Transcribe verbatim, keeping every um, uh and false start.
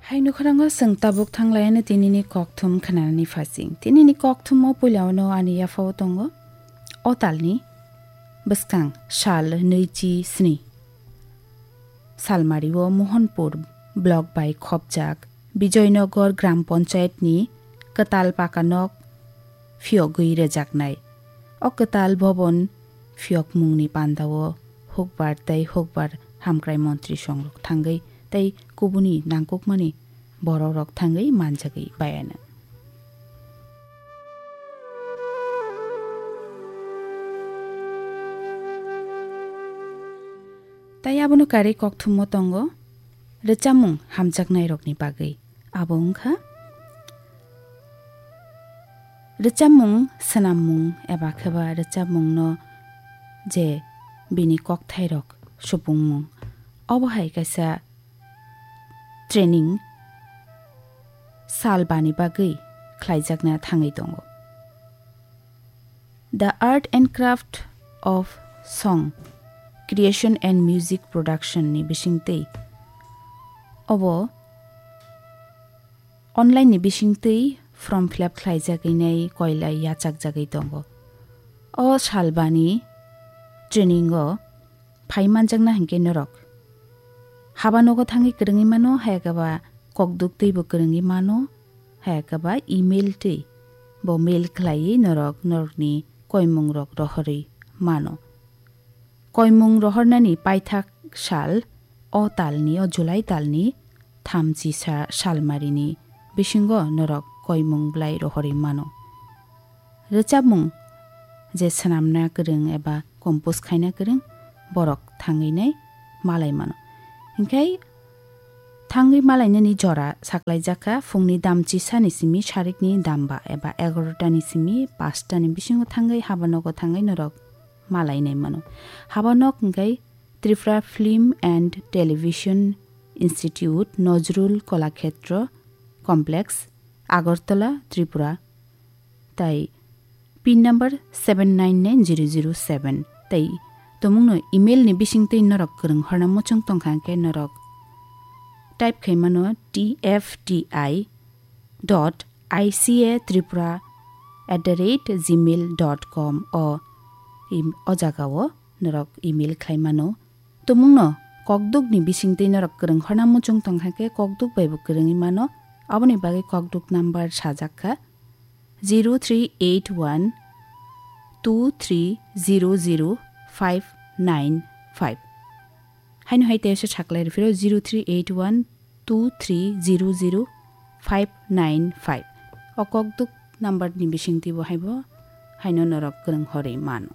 Hai nukharango chwng tabuk thanglaiyano tinini kokthum khnanani phasing. Tinini kokthumo puilano ani yaphao tongo o talni bwskang sal nwichi sni. Salmario Mohanpur block bai khopjak Bijoynagar Gram Panchayat ni kwtal pakanok phiyogwi rwjaknai. O kwtal bobon phiyokmungni pandao hukbar tei hukbar hamkrai montri songrok thangwi tei kubuni nangkukmani borokrok thangwi manjagwi bayana. Tai abono karwi kokthumo tongo rwchapmung hamjaknairokni bagwi. Abo wngkha rwchapmung, swnammung eba kheba rwchapmungno je bini kokthairok supungmung. Obo hai kaisa training sal bani bagwi khlaijakna thangwi tongo. The Art and Craft of Song Creation and Music Production ni bisingtwi obo online ni bisingtwi form fill up khlaijagwi nai koilai yachakjagwi tongo. O salbani training o phai manjakna hinkhe norok haba nogo thangwi kwrwngwi mano, hayakhe ba kokduk twibo kwrwngwi mano, hayakhe ba email twi bo mail khlaiwi norok norokni koimungrok rohorwi mano. Koimung rohornani paithak sal o talni, o July talni thamchi sa-, salmarini bisingo norok koimung bwlai rohorwi mano. Rwchapmung je swnamna kwrwng eba compose khaina kwrwng borok thangwi nai malai mano. Hinkhe thangwi malainani jora saklaijak kha phungni damchi sani simi sarikni damba eba egarota ni simi paanch ta ni bisingo thangwi haba nogo thangwi norok malai nai mano. Haba nok hinkhe Tripura Film and Television Institute, Nojrul Kolakhetro Complex, Agartala, Tripura, tai pin number seven nine nine zero zero seven, tai tomungno email ni bisingtwi norok kwrwng horna muchung tongkha hinkhe norok type khai mano T F T I dot I C A Tripura at the rate gmail dot com o im-, o jagao norok email khlai mano. Tumungno kokdukni bisingtwi norok kwrwng horna muchung tongkha khe kokduk bai bo kwrwngwi mano. Aboni bagwi kokduk number sajak kha zero three eight one two three zero zero five nine five. Haino hai teisa saklai rw phiro zero three eight one two three zero zero five nine five. O kokduk number ni bisingtwi bo haibo haino norok kwrwng horwi mano.